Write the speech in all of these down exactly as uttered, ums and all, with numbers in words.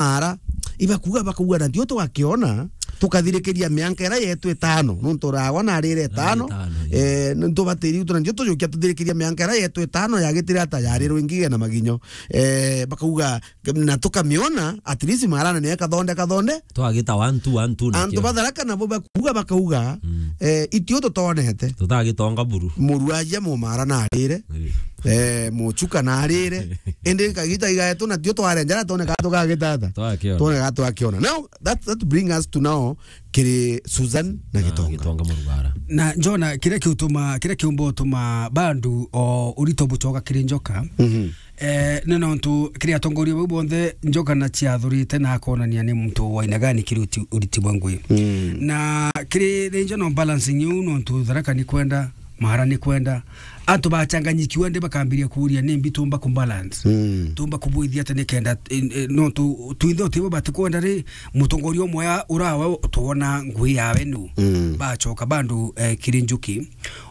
mara, ibakuga, bakauga, "Na ndio tugakiona, tukathirikiria mianka ira yetu itano." Nuntu uragwa na arire itano, itano, eh, nuntu batiri utu, "Na ndio tujukia tuthirikiria mianka ira yetu itano yagitire ata yarirwe ingi na maginyo." Eh, bakauga, "Na tukamiona, at least marana ni kathonde, kathonde." Twagita one two, one two na antu kio. Ba Tharaka nabo bakuga, bakauga, mm, eh, "Itio tutonete." Tutagitonga buru. Murwaria mumara na arire. Eh. Eh, muchuka na arire. Indi kagita igaetu na tio twarenjera tone ka tugagitata. Twakiona. Tone ka twakiona. Now, that, that bring us to now kiri Susan na, na Gitonga. Gitonga Murugara. Na Jona, kiria kiutuma, kiria kiumba utuma bandu o urito bucoka kiri Njoka. Mhm. Eh, ni nontu kiri atongoria bau bonthe Njoka na ciathurite na akonania ni muntu wa aina gani kiri uti-, uriti bwa ngui. Mm. Na kiri regional balancing iu nontu Tharaka ni kwenda, Mara ni kwenda. Antu bachanganyikiwa ndi bakambiria kuuria ni mbi tumba kubalance. Mm. Tumba kubwithia ati ni kenda, eh, eh, nontu twinthe utibo batikwenda ri, mutongoria umwe ya-, urawe tuona ngui yawe nu. Mm. Bacoka bandu, eh, kiri Njuki.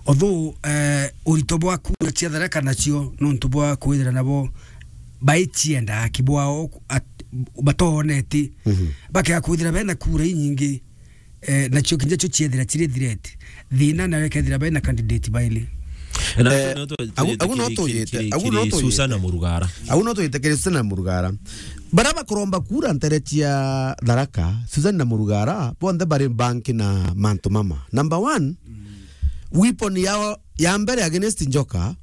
Although, eh, urito bwa kura cia Tharaka nacio nontu bwa kwithira nabo baicienda aki bwao at-, batoneti. Mhm. Bakea kwithira bena kura inyingi, eh, nacio kinya cio ciethira ciri threat. Thina nawe kethira bena candidate baili. Na eh, no tu-, agu-, agu no kiri, tuyite, kiri, agu no kiri tuyite. Susana Murugara. Agu no tuyite kiri Susana Murugara. Bara bakuromba kura ntere cia Tharaka, Susan na Murugara, bonthe bari banki na mantu mama. Number one, mm, weapon yao ya mbere against Njoka,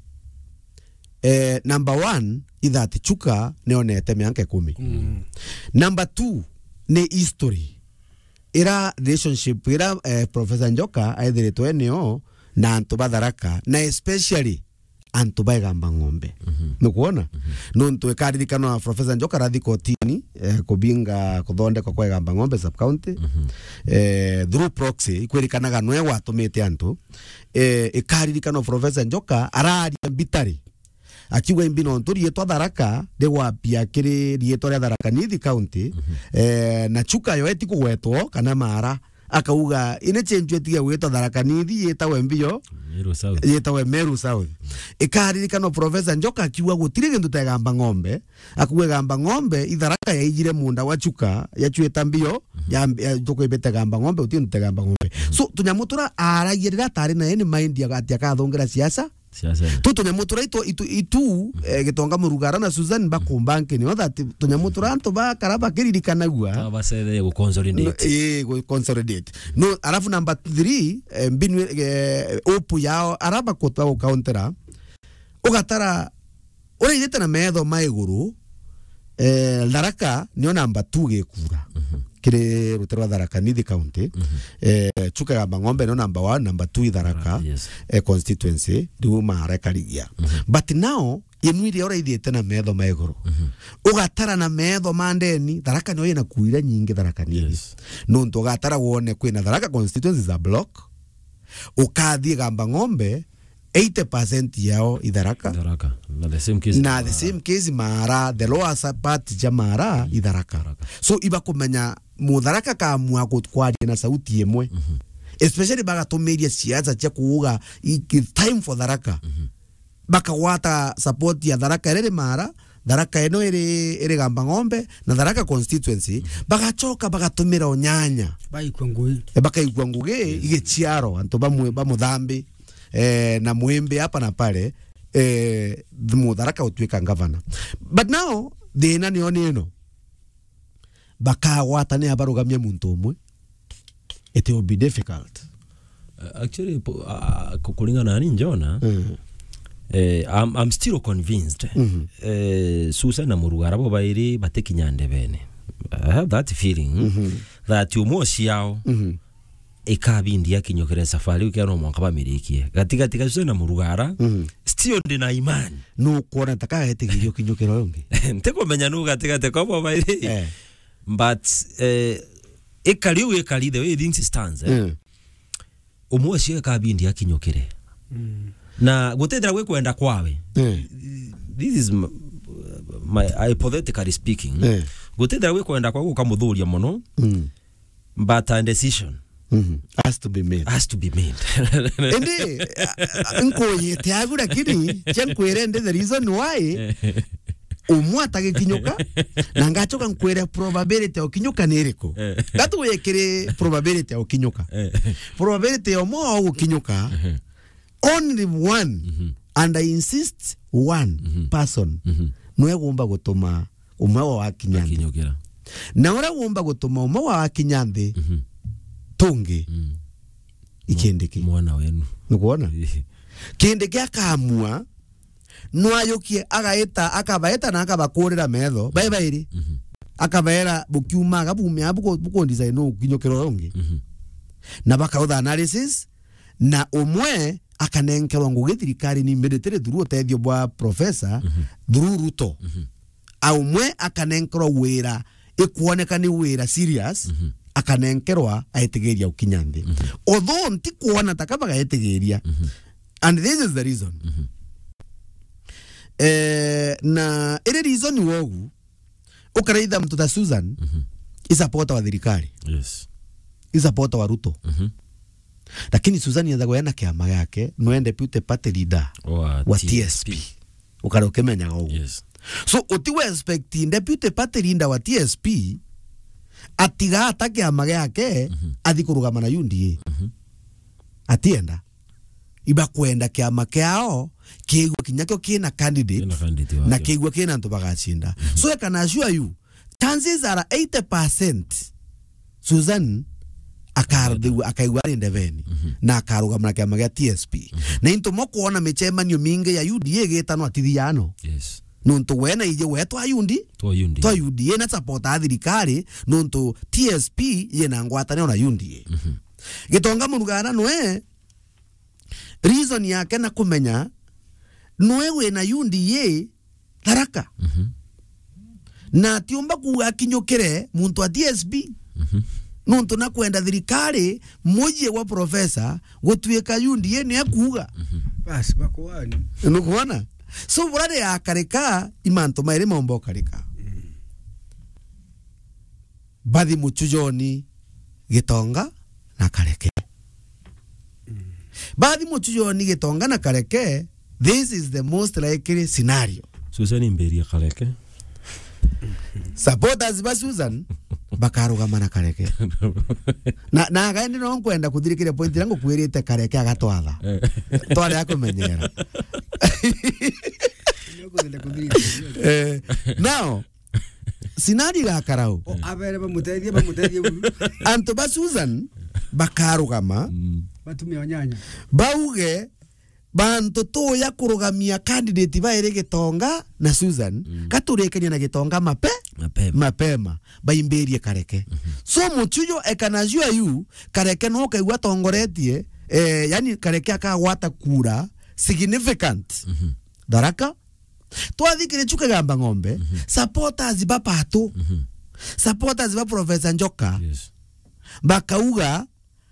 eh, number one, i that Chuka nionete mianka ikumi. Mm. Number two, ni history. Ira relationship, ira, eh, Professor Njoka aithiritwe nio na antu ba Tharaka, na especially antu ba Igamba Ng'ombe. Mhm. Nukwona? Mhm. Nontu ikaririkanwa Professor Njoka arathi kotini, eh, kubinga kuthondekwa kwa Igamba Ng'ombe sub county. Mhm. Eh, through proxy, ikwirikanaga nwe watumite antu. Eh, ikaririkanwa Professor Njoka araria mbitari. Akiuga imbi nontu riitwa Tharaka rigwapia kiri riitwa ria Tharaka Nithi County. Mhm. Eh, na Chuka yo eti kugwetwo kana Mara. Akauga, "Ine chenju etiga gwitwa Tharaka Nithi, yitawe mbio, Meru South. Yitawe Meru South." Ikaririkanwa Professor Njoka akiuga gutiri gintu ta Igamba Ng'ombe, akuuga Igamba Ng'ombe, i Tharaka yaijire munda wa Chuka, yachuita mbio, mhm, ya, ya, tukwibite Igamba Ng'ombe, uti gintu ta Igamba Ng'ombe. Mhm. So, tunyamu tura aragia riria atari na any mind ya ati akathungira siasa, Siasa. Tu tunyamu tura itu, itu, itu, eh, Gitonga Murugara na Susan bakumba nkini, o that tunyamu tura antu bakara bakiririkanagua. Ta bacethe gu consolidate. No, eh, gu consolidate. No, alafu number three, eh, mbinu, eh, upu yao, ara bakutwa gukauntera. Ugatara, uraithite na metho ma iguru, eh, Tharaka nio number two gikura. Mhm. Kiri rutere rwa Tharaka Nithi County. Mhm. Eh, Chuka Igamba Ng'ombe nio number one, number two i Tharaka, Tharaka, yes, eh, constituency, riu Mara ikarigia. Mhm. But now, yenu iria uraithite na metho ma iguru. Mhm. Ugatara na metho ma ndeni, Tharaka nio ina kura iria nyingi Tharaka Nithi. Yes. Nontu ugatara wone kwina Tharaka constituency za block, ukathie Igamba Ng'ombe, eighty percent yao i Tharaka. Tharaka. Na the same case na Mara. The same case Mara, the lower sa-, part ja Mara, mm, i Tharaka. Tharaka. So, ibakumenya Mutharaka kamua ku-, kwaria na sauti imwe. Mhm. Especially bagatumiria siasa cia kuuga, "I-, it's time for Tharaka." Mhm. Bakagwata support ya Tharaka iri Mara, Tharaka ino iri, iri Igamba Ng'ombe, na Tharaka constituency, mhm, bagacoka bagatumira unyanya. Baikua ngugi. E, bakaigua ngugi, yes, igiciaro, antu bamwe bamuthambi. Eh, na Mwimbi hapa na pale, eh, Mutharaka utuika ngavana. But now, thina nio ni ino. Bakagwatania barugamie muntu umwe. It will be difficult. Uh, actually, po-, uh, ku-, kuringana na ni Jona, mm, eh, I'm, I'm still convinced. Mhm. Eh, Susan na Murugara bo bairi batikinya ndebene. I have that feeling, mhm, that umwe ciao, mhm, ikabindi akinyukire safari iu, kero mwanka bamirikie. Gatigati ga Susan na Murugara, mhm, still ndi na imani. Nukwona ta kagetigirio kinyukira uyu ungi? Ntikumenya nu gatigati kwa bo bairi. Eh. But, eh, ikari u ikari the way things stands, eh. Mm. Umwe ucio ikabindi akinyukire. Mm. Na gutithira gwi kwenda kwawe. Mm. This is m-, my, hypothetically speaking. Mm. Gutithira gwi kwenda kwawe gukamuthuria muno. Mm. But a decision, mhm, has to be made. Has to be made. Indi, a, a, nkuyite agu, lakini cia nkwire ndi the reason why. umwe atagikinyuka, na ngacoka nkwire probability ya ukinyuka ni iriku. Eh. Gatu wikiri probability ya ukinyuka. Eh. Probability ya umwe wa ugukinyuka, mhm, only one, mhm, and I insist, one, mhm, person, mhm, nwe gumba gutuma umwe wa wakinya nthi. Akinyukira. Na uria gumba gutuma umwe wa wakinya nthi, mhm, tungi, mm, ikindiki. Mwana wenu. Nukwona? Ii. Kindiki akamua, nwayukie agaita, akabaita na akabakurira metho, bai bairi. Mhm. Akabeera, bukiumaga, bumia, buku-, bukundisaini ukinyukira uria ungi. Mhm. Na bakautha analysis, na umwe akanenkerwa ngugi thirikari ni immediately through utethio bwa professor, mhm, through Ruto. Mhm. A umwe akanenkerwa wira, ikwoneka ni wira serious, mhm, akanenkerwa aetigeria ukinya nthi. Mhm. Although ntikwona taka bagaetigeria. Mhm. And this is the reason. Mhm. Eh, na iri reason wogu, ukaraitha mtu ta Susan, mhm, i supporter wa thirikari. Yes. I supporter wa Ruto. Mhm. Lakini Susan yethagwa ena kiama giake, nwe deputy party leader wa T S P. Ukare ukimenyaga uguo. Yes. So, uti we expect deputy party leader wa T S P atiga ata kiama giake, mhm, athi kurugama na U D A. Mhm. Atienda. Ibakwenda kiama kiao kiigua kinya kio kina candidate, kina candidate na wakio, kiigua kina antu bagacinda. Mhm. So, I can assure you, chances are eighty percent Susan akarthigua, akaigua ari ndebeni, mhm, na akarugama na kiama gia T S P. Mhm. Na into mo kwona micemanio mingi ya U D A igitanwa tithiano. Yes. Nontu we na ije we twa U D A, twa U D A, twa U D A na support a thirikari, nontu T S P yina ngwataniro na U D A. Mhm. Gitonga Murugana nwe reason yake na kumenya nwe wina U D A Tharaka. Mhm. Na atiumba kuuga akinyukire muntu wa T S P. Mhm. Nontu na kwenda thirikari, mujie wa professor, gutuika U D A ni akuuga. Mhm. Basi, bakuani. Nukwona? So, burari akarika, i mantu mairi maumba ukarika. Mm. Bathi muchujoni Gitonga na Kareke. Mm. Bathi muchujoni Gitonga na Kareke, this is the most likely scenario. Susan imberia Kareke. Supporters ba Susan bakarugama na Kareke. Na, na agaendi no nkwenda kuthirikiria point iria ngukwirite Kareke agatwatha. Eh. Tware akumenyera. Eh, now, scenario igakara u. O, abere bamutethie, bamutethie buru. Antu ba Susan bakarugama. Mm. Batumia onyanya. Bauge, bantu tuya kurugamia candidate bairi Gitonga na Susan, mm, gaturikania na Gitonga mape-, mapema, mapema, baimbirie Kareke. Mhm. So, muchujo, I can assure you, Kareke no ukaigua atongoretie, eh, yani Kareke akagwata kura significant. Mhm. Tharaka, twathikire Chuka Gamba Ng'ombe, mhm, supporters ba Pato, mhm, supporters ba Professor Njoka, yes, bakauga,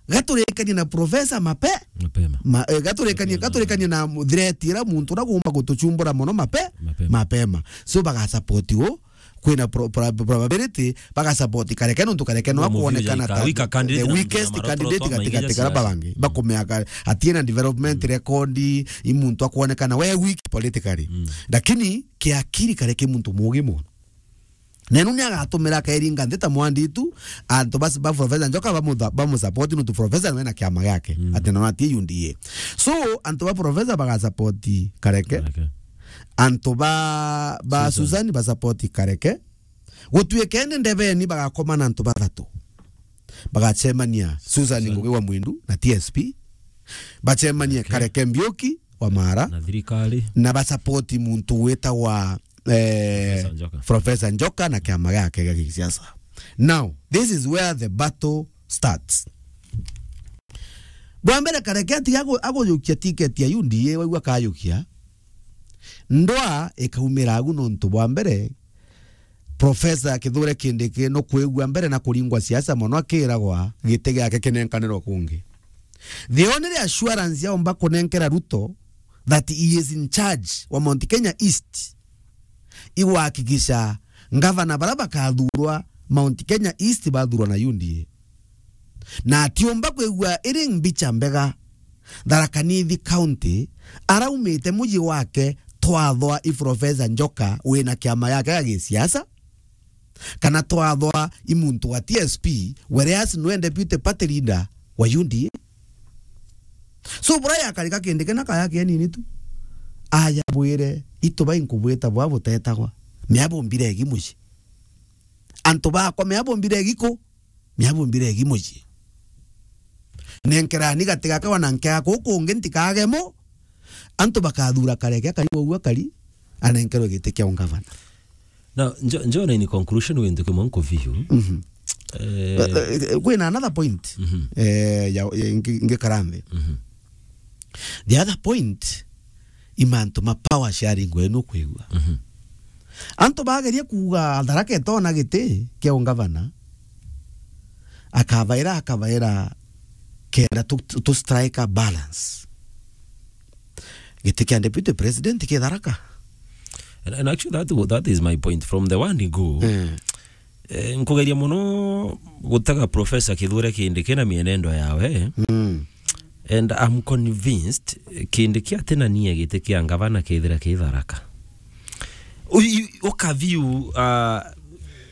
gaturikanie na Professor mape-, mapema. Ma-, eh, gaturikanie, mapema, gaturikanie na threat ira muntu uria gumba gutuchumbura mono mape-, mapema, mapema. So, bagasupport u, kwina pro-, pro-, probability, bagasupport Kareke, nontu Kareke no akwonekana ta the weakest candidate gatigatigara babangi. Mm. Bakumeaga atina development, mm, record, i muntu akwonekana we weak politically. Mm. Lakini kiakiri Kareke muntu mugi mono. Nenu ni agatumira akairinga nthi ta mwanditu, antu bas-, ba Professor Njoka bamutha-, bamusupport nontu Professor nwe na kiama giake. Mm. Ati na atie U D A. So, antu ba Professor bagasupport Kareke. Kareke. Antu ba, ba Susan. Susan basupport Kareke. Gutuike indi ndebeni bagakoma na antu bathatu. Bagacemania Susan, Susan Ngugi wa Mwindu na T S P. Bacemanie, okay, Kareke Mbiuki wa Mara. Na thirikari. Na basupport muntu witagwa, eh, Professor Njoka. Professor Njoka na kiama giake gia gisiasa. Now, this is where the battle starts. Bwa mbere, Kareke atiga agu-, agujukia ticket ya U D A, waigua akayukia. Ndwa ikaumira agu nontu bwa mbere, Professor Kithure Kindiki nukwigua mbere na kuringwa siasa mono akiragwa giti giake kinenkanirwa kungi. The only assurance yaumba kunenkera Ruto that he is in charge wa Mount Kenya East, igwakikisha ngavana bara bakathurwa Mount Kenya East bathurwa na U D A. Na atiumba kwigua iri mbicha mbega, Tharaka Nithi County, araumite muji wake twathwa i Professor Njoka wina kiama yake ya gisiasa, kana twathwa i muntu wa T S P, whereas nwe deputy party leader wa U D A. So, bura yakarika Kindiki na kaya kenini tu. Aya bwire, itu bai nkubwita bwa butetagwa. Mea bumbire egi mucii. Antu bakwa, mea bumbire egi ku? Mea bumbire egi mucii. Nenkerani gati gakwa na nkea kuu kungi ntikagemo. Antu bakathura Kareke akari wou akari, anenkerwe giti kia ungavana. Now, Njo-, Njona, in conclusion, wintu kimwe nkuviu. Mhm. Eh, Eh, eh, kwina another point. Mhm. Eh, ya, ya, ngi-, ngikara nthi. Mhm. The other point, i mantu ma power sharing wenu kwigua. Mhm. Antu bageria kuuga Tharaka etona giti kia ungavana, akabaira, akabaira kenda tu, tu, tu strike a balance. Giti kia deputy president ki Tharaka. And, and actually that, that is my point from the one go. Mm. Eh, nkugeria muno gutega Professor Kithure Kindiki na mienendo yawe. Mm. And I'm convinced, eh, Kindiki atina nia giti kia ngavana kethira ki Tharaka. U-, u-, ukaviu, uh,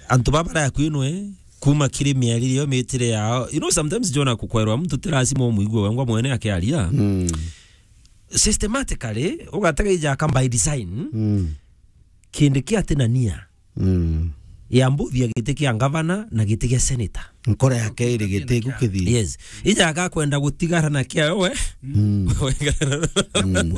antu baba bari akui nwe, kuma kiri miarire yo, mitire yao. You know, sometimes Jona kukwerwa muntu ti lazima umwigue wengwa mwene akiaria. Mm. Systematically, ugatega ijaka by design, Mm. Kindiki atina nia Mm. ya mbuthia giti kia ngavana na giti kia senator. Nkora yake iri giti gukithi. Yes. Ija agakwenda gutigara na kiayo we. Mm.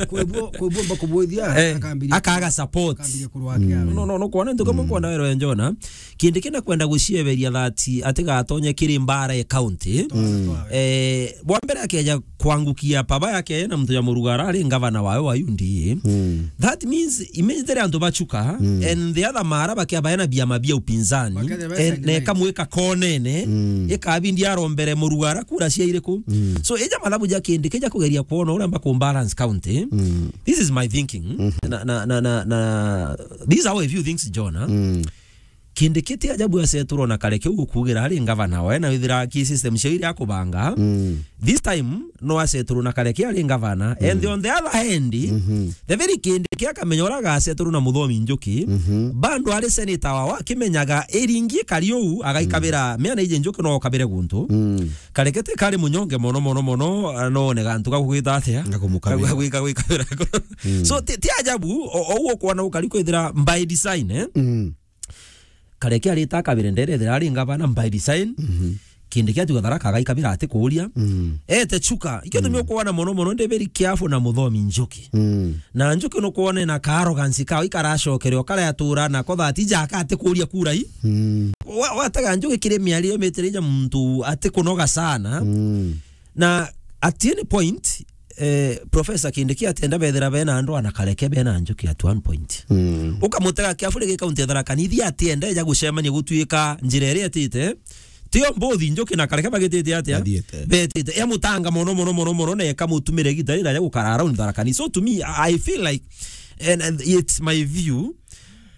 Kwibwo, kwibwo mba kubwithia, Eh, akaambiria, akaga support. Akaambiria kurwa kiayo. No, no, no, kwona ntuka Mm. mwe kwona wero ya Njona. Kindiki nakwenda gucieberia that atigatonye kiri mbara ya county. Mm. Eh, bwa mbere akeja kwangukia papa yake na muntu ya Murugara ari ngavana wawe wa U D A. Mm. That means immediately antu bachuka, Mm. and the other mara bakia baena biama bia upinzani, Bakethira and besengi na ikamwika konene, Mm. ikabindi arombere Murugara kura cia iriku. Mm. So, ija mathabu ja Kindiki ja kugeria kuona uria mba ku balance county. Mm. This is my thinking. Mm-hmm. Na, na, na, na, na, this is how I view things, Jona. Mm. Kindiki ti ajabu aseturwo na Kareke ugukugira ari ngavana wawe, na withira ki system cia iria akubanga. Mm. This time, no aseturwo na Kareke ari ngavana. Mm. And on the other hand, Mm-hmm. the very Kindiki akamenya uria agaseturwo na Muthomi Njuki, Mm-hmm. bando ari senator wawe akimenyaga iringi kari uu, agaikabira, Mm. miana ije Njuki no okabire guntu. Mm. Kareke ti kari munyonge mono, mono, mono, ah, no one gantu ga gwita atia? Ga kumukabira. Ga gwika, gwikabira. Mm. So, ti, ti ajabu, o, o ukwona ukari kwithira by design, eh? Mm. Kareke arita akabire ndere ethira ari ngavana by design. Mhm. Kindiki atiga Tharaka agaikabira atikuuria. Mm. Ete chuka. Ikio tumi Mm. ukuona mono mono ndi very careful na Muthomi Njuki. Mm. Na Njuki nukwona na ka arrogance kao ikaracokere o karia atura nako that ija aka atikuuria kura i. Mm. Wa-, wataga Njuki kiri miario mitire ija muntu atikunoga sana. Mm. Na at any point, eh, Professor Kindiki atienda bethira bena andu ana Kareke bena Njuki at one point. Mm. Ukamutega carefully gi county ya Tharaka Nithi atienda eja gucemania gutuika njira iria etite. Tio mbuthi Njuki na Kareke bagitite atia? Bathiite. Betite. E mutanga mono, mono, mono, mono, na ekamutumire gita ira ya gukara around Tharaka Nithi. So to me, I feel like, and, and it's my view,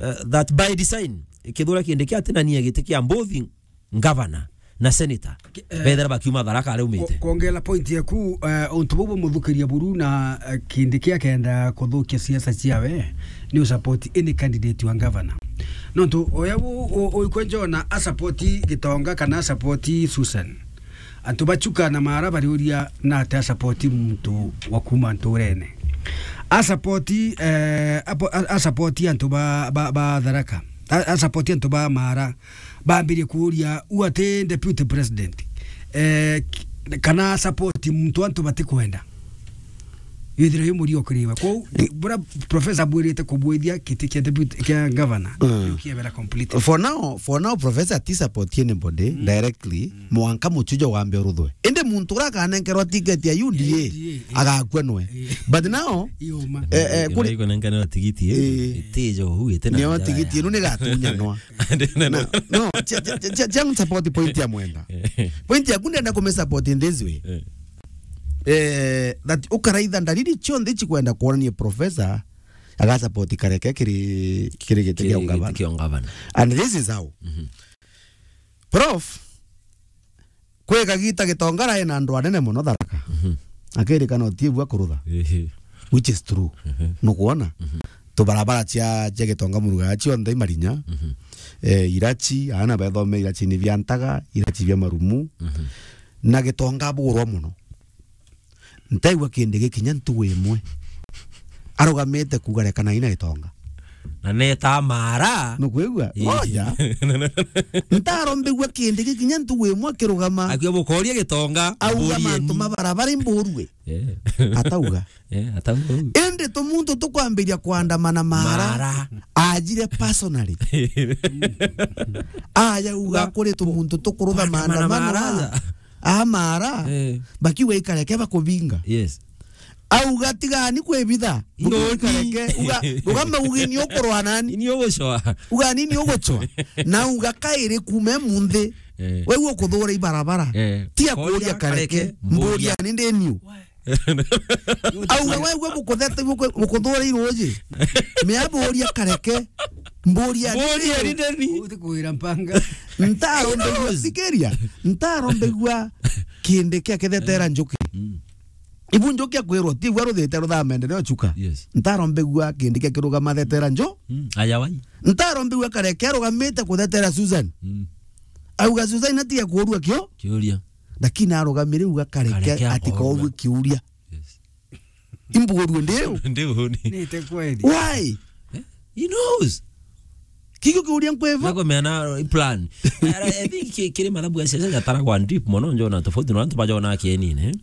uh, that by design, Kithure Kindiki atinania giti kia mbuthi, ngavana na senator, Ki-, eh, bethira bakiuma Tharaka aria umite. Ku-, kuongela point yaku, eh, untu buu bumuthukiria buru na, eh, Kindiki akenda kuthukia siasa ciawe, ni usupport any candidate wa ngavana. Nontu oya u-, u-, uikwe Jona asupport Gitonga kana asupport Susan. Antu bachuka na mara bariuria na ati asupport muntu wa kuma nturene. Asupport, eh, apo-, a-, asupport antu ba, ba, ba Tharaka. A-, asupport antu ba mara. Bambirie kuuria, "U ati deputy president, eh, k-, kana support muntu antu batikwenda?" Withire yu murio kiriwe. Kwou, bura professor bwirite kubwithia kiti kia deputy, kia governor, Mm. kiebera completely. For now, for now, professor ati support anybody Mm. directly, Mm. mwanka muchujo wambe uruthwe. Indi muntu ura akanenkerwa ticket ya U D A, U D A, eh. agakua nwe. Eh. But now, Iuma. eh, eh, Ira kuri- iko nenkanirwa tigiti, eh, Eh. itijo hu, ite na Nio njara tigiti ya. Inu ni gatunyanwa. Ndina No, no. no, cia, cia, cia, cia, cia support point ya mwenda. Eh. Point yaku ndenda kume support in this way. Eh. Eh, that ukaraitha ndariri cionthe cikwenda kuonania professor aga support Kareke kiri, kiri giti kia Kiri ungavana. Giti kia ungavana. And this is how. Mhm. Prof, kwi kagita Gitonga arai na andu anene mono Tharaka. Mhm. Akirikana utiebua kurutha. Ehe. Which is true. Ehe. Nukwona? Mhm. tubarabara cia, cia Gitonga Muruga cionthe i Marinya. Mhm. Eh, Irachi, aana bethome Irachi ni bia Ntaga, Irachi bia Marumu. Mhm. Na Gitonga abugurwa mono. Ntaigua Kindiki kinya ntugu imwe arugamite kuuga, "Rekanai na Gitonga." Na neta mara. Nukwigua? Ii. Moja. Ntarombigua Kindiki kinya ntugu imwe akirugama. Akiuga, "Bukoria Gitonga, auga, mburieni." "Mantu ma barabara imburue." Eh. Atauga. Eh, atauga. Indi tumuntu tukwambiria kuandamana mara. Mara. Ajire personally. Aya uga kuri tumuntu tukurutha maandamano mara. Amara. Eh. Bakiuga ikareke bakubinga. Yes. Auga, "Tigani kwibitha." Ngoni. Ikareke. Uga, uga maugi ni ukurwa nani? Ni ugucwa. Uga ni, ni ugucwa. Na uga kairi kume munthi. Eh. Wewe ukuthura ibarabara. Eh. Tia kuria kareke. Mburia ni ndeniu. Auga, "Wewe bukuthete, buku-, bukuthura iruji. Mea mburia kareke. Mburia ni ndeniu." Uti kuira mpanga. Ntarombegua, sikiria. Ntarombegua Kindiki akithetera Njuki. Mm. Ibu Njuki akwirwo, ti gwa ruthite ruthaa maendeleo chuka. Yes. Ntarombegua Kindiki akirugama thetera Nju. Mm. Aya wai. Ntarombegua Kareke arugamite kuthetera Susan. Mm. Auga Susan atige kuurua kio. Kiuria. Lakini arugamire uga Kareke. Kareke atikourua kiuria. Yes. Imbuurue ndiu. Ndiu ni. Nite kweli. Why? Eh? He knows. Kigio kiuria nkwevo. Nako meana plan. I think ki-, kiri mathabu ya siasa jataragwa deep mono, njona tofauti na antu bajona kienine.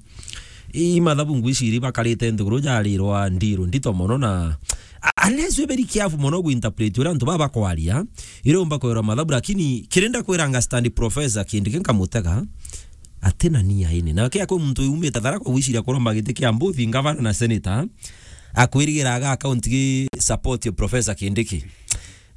I mathabu ngwiciri bakarite nthiguru jarirwa ndiru ndito mono na, a-, unless we very careful mono gu interpret uria antu baba bakwaria, ire umba kwirwa mathabu, lakini kirenda kwira nga stand professor Kindiki nkamutega, ati na nia ini. Na kia kwi muntu umite Tharaka gwiciria kuromba giti kia mbuthi, ngavana na senator, akwirigira aga account gi support professor Kindiki.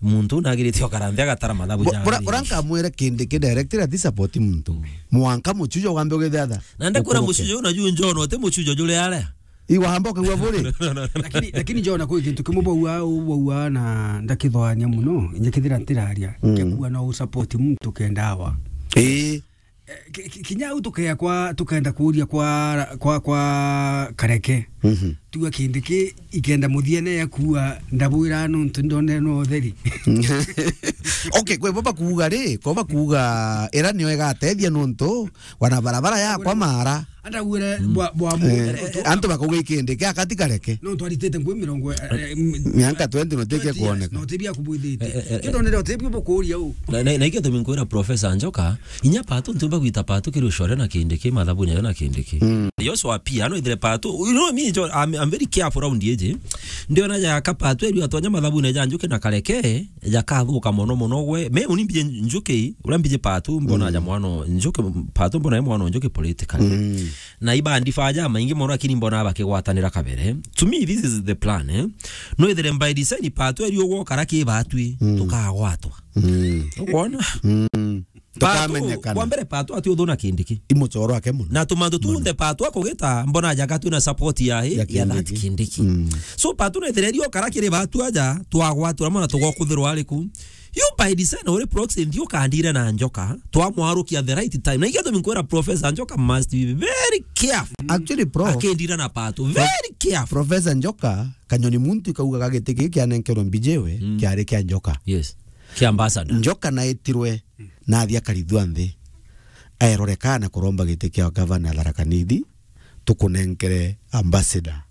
Muntu nagirite okara nthi agatara mathabu. Bo-, ja bora, bora nkamwire Kindiki director ati support muntu. Mm. Mwanka muchujo wambe ugithatha. Na ndakwira muchujo na ju njona uti muchujo jure aria. Iwamba ukagua buri. Lakini, lakini njona kwi kintu kimwe bauga, bauga na ndakithwania muno, inya kithira ntiraria, mm, kia kuga no u support muntu kenda awa. Ii. Eh, ki-, ki-, kinya au tukea kwa, tukenda kuuria kwa, kwa, kwa Kareke. Mhm. Tuga Kindiki ikenda muthiene ya kuua, ndabwira nuntu ndone no utheri. Okay, kwe baba kuuga ri, kwa baba kuuga ira nio igatethia nuntu wana barabara yakwa mara. Andagwire bwa, bwa mu-, eh, antu bakauga Kindiki akati Kareke. No twaritite ngui mirongo, eh, eh, m-, mianka twenty no tike kuoneka. No tibia kubwithite. Eh, eh, eh, kito ndio tibia bukuria u. Na, na, na ikio tumi nkwira Professor Njoka, inya Patu ntumba gwita Patu kiri ucore na Kindiki, mathabu nyayo na Kindiki. Mm. Joshua pia, no ithire Patu. You know me, Jo-, I'm, I'm very careful around iji. Ndiona jaka Patu eri atonya mathabu ne ja Njuki na Kareke, jakathuka mono mono gwe. Me uni mbije Njuki, ura mbije Patu, mbona ja mwana Njuki, Patu mbona e mwana Njuki politically. Mm. Na ibandifa ja maingi mono, lakini mbona bakigwatanira kabere. To me, this is the plan, eh? No ithire by design Patu eri ugwo kara ki batwi, mm, tukagwatwa. Mm. Ukwona? Mm. Patu, tukamenyekana. Kwa mbere Patu ati uthu na Kindiki. I mucoro wake muno. Na tumantu tunthe Patu akugita, mbona jaga twina support ya, ya that Kindiki. Kindiki. Mm. So Patu na ithire eri okara kiri batu aja, twagwatura mona tugokuthirwa ariku. You by design uri proxy nthi ukandire na Njoka, twamwarukia the right time. Na ikio tumi nkwira Professor Njoka must be very careful. Actually, Prof, akindira na Patu. Very careful. Professor Njoka, kanyoni muntu ikaugaga giti giki kianenkerwe mbijiwe, mm, kiari kia Njoka. Yes. Kia ambassador. Njoka na itirwe na athi akarithua nthi. Aerore kana kuromba giti kia gavana Tharaka Nithi, tukunenkere ambassador.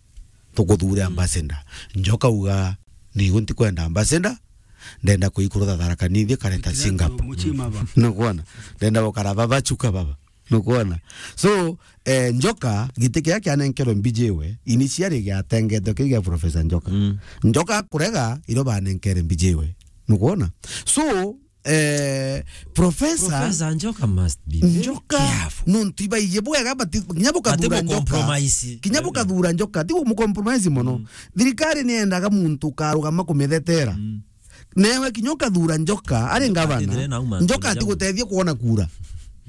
Tukuthure, mm, ambassador. Njoka uga, "Nigu ntikwenda ambassador, ndenda kuikurutha Tharaka Nithi kareta Singapore." Nukwona? Ndenda gukara baba chuka baba. Nukwona? So, eh, Njoka, giti kiria kianenkerwe mbijiwe, initially giatengetwe kiu gia Professor Njoka. Mm. Njoka kurega, iro banenkere mbijiwe. Nukwona? So, eh, Professor Professor Njoka must be very Njoka, careful. Nuntu ibaiji bwega, but kinya bukathura Njoka. Compromise. Kinya bukathura Njoka, ti mu compromise mono. Mm. Thirikari ni yendaga muntu ukarugama kumithetera. Mm. Newe kinya ukathura Njoka, ari ngavana. Njoka atigutethia kuona kura.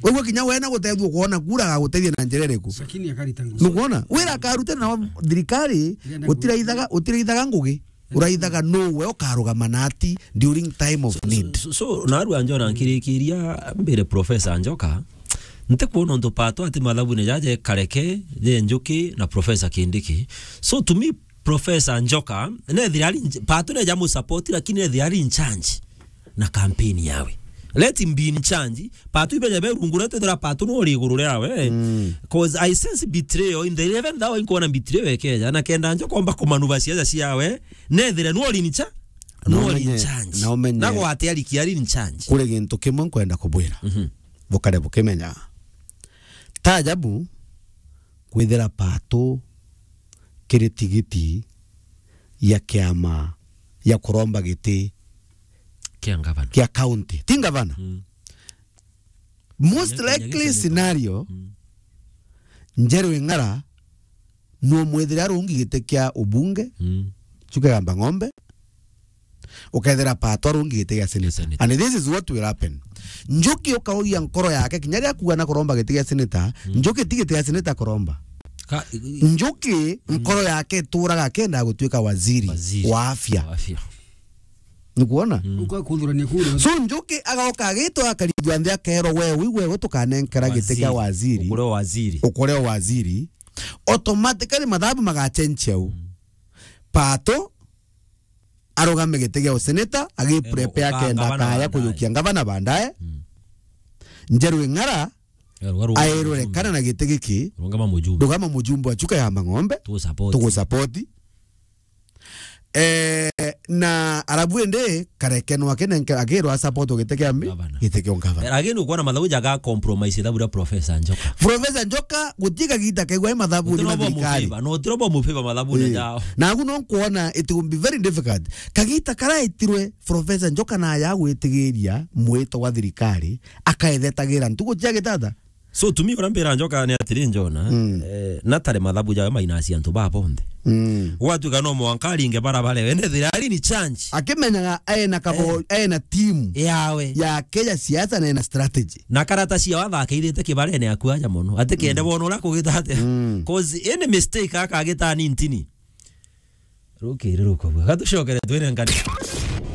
Wewe kinya wena gutethua kuona kura, agagutethia na njira iriku? Sakini akarita ngugi. Nukwona? Wira akaruta na thirikari, utiraithaga, utiraithaga ngugi. Uraithaga no we ukarugama na ati during time of need. So, so, so, so, narua njona nkirikiria mbere Professor Njoka, ntikwona untu Patu ati mathabune jaje Kareke, je Njuki na Professor Kindiki. So to me, Professor Njoka, nethira ari in ch-, Pato neja mu support, lakini nethira ari in charge na campaign yawe. Let him be in charge. Pato ibeja be rungu, na twethira Pato no ri iguru riawe. Mm. 'Cause I sense betrayal in the eleventh hour, inkuona betrayal ekeja, na kenda Njoka omba kumanuva siasa ciawe, nethira no ri in cha-, no ri in charge. Na umenye, na umenye. Na gwate ari ki ari in charge. Kuri gintu kimwe nkwenda kubwira. Mhm. Bukare bukimenya. Ta ajabu kwithira Pato kiri tigiti ya kiama ya kuromba giti kia ngavana. Kia county. Ti ngavana. Mm. Most likely scenario, mm, Njeru Ing'ara no mwithire arungi giti kia ubunge, mm, Chuka Igamba Ng'ombe, ukethira Pato arungi giti gia senator. Senator. And this is what will happen. Njuki ukauria nkoro yake, kinya ria kuga na kuromba giti gia senator, mm, Njuki ti giti gia senator kuromba. Ka-, i-, i-, Njuki, mm, nkoro yake ituraga akenda gutuika waziri, waziri wa afya. Wa afya. Nikuona? Mm. Uka kuthurania kura. So Njuki agoka agitwa akarigwa nthi akerwo, "We, wi, we, we tukanenkera giti kia waziri. Waziri. Ukure waziri. Ukure waziri." Automatically mathabu magachenjia u. Mm. Pato arugame giti gia useneta, agiprepare, eh, uka akenda ngavana kaya baadaye. Kuyukia ngavana baadaye. Mm. Njeru Ing'ara, eh, ruga, ruga airwe mujumbe. Kana na giti giki. Rungama mujumbe. Rugama mujumbe wa Chuka Igamba Ng'ombe. Tugusupport. Tugusupport. Eh, na arabu ende kareke no akenenke, akirwa support giti kia mi, gavana. Giti kia gavana. Eh, again, ukwona mathabu jaga compromise thabu ria Professor Njoka. Professor Njoka, guti kagita kaigwa mathabu ni mathirikari. Gutiro bo mufeva, no tiro bo mufeva mathabu ni jao. Eh. Na agu no nkuona it will be very difficult. Kagita karaitirwe Professor Njoka na ya gwitigiria mwito wa thirikari, akaethetagira ntugu cia gitata. So, to me, uria mbira Njoka ni atiri, Njona, mm, eh, natare mathabu jawe mainasi antu ba bonthe. Mm. Gwatuika no mwanka aringe barabara, we nethira ari ni change. Akimenyaga ena kabo, eh, ena team yawe. Yake ya siasa na ena strategy. Na karata cia watha akaithite kibarene aku aja mono. Ati kende, mm, bono uria kugita atia. Mm. 'Cause any mistake akagita ni ntini. Rukiri rukobua. Gatucokere twire ngani.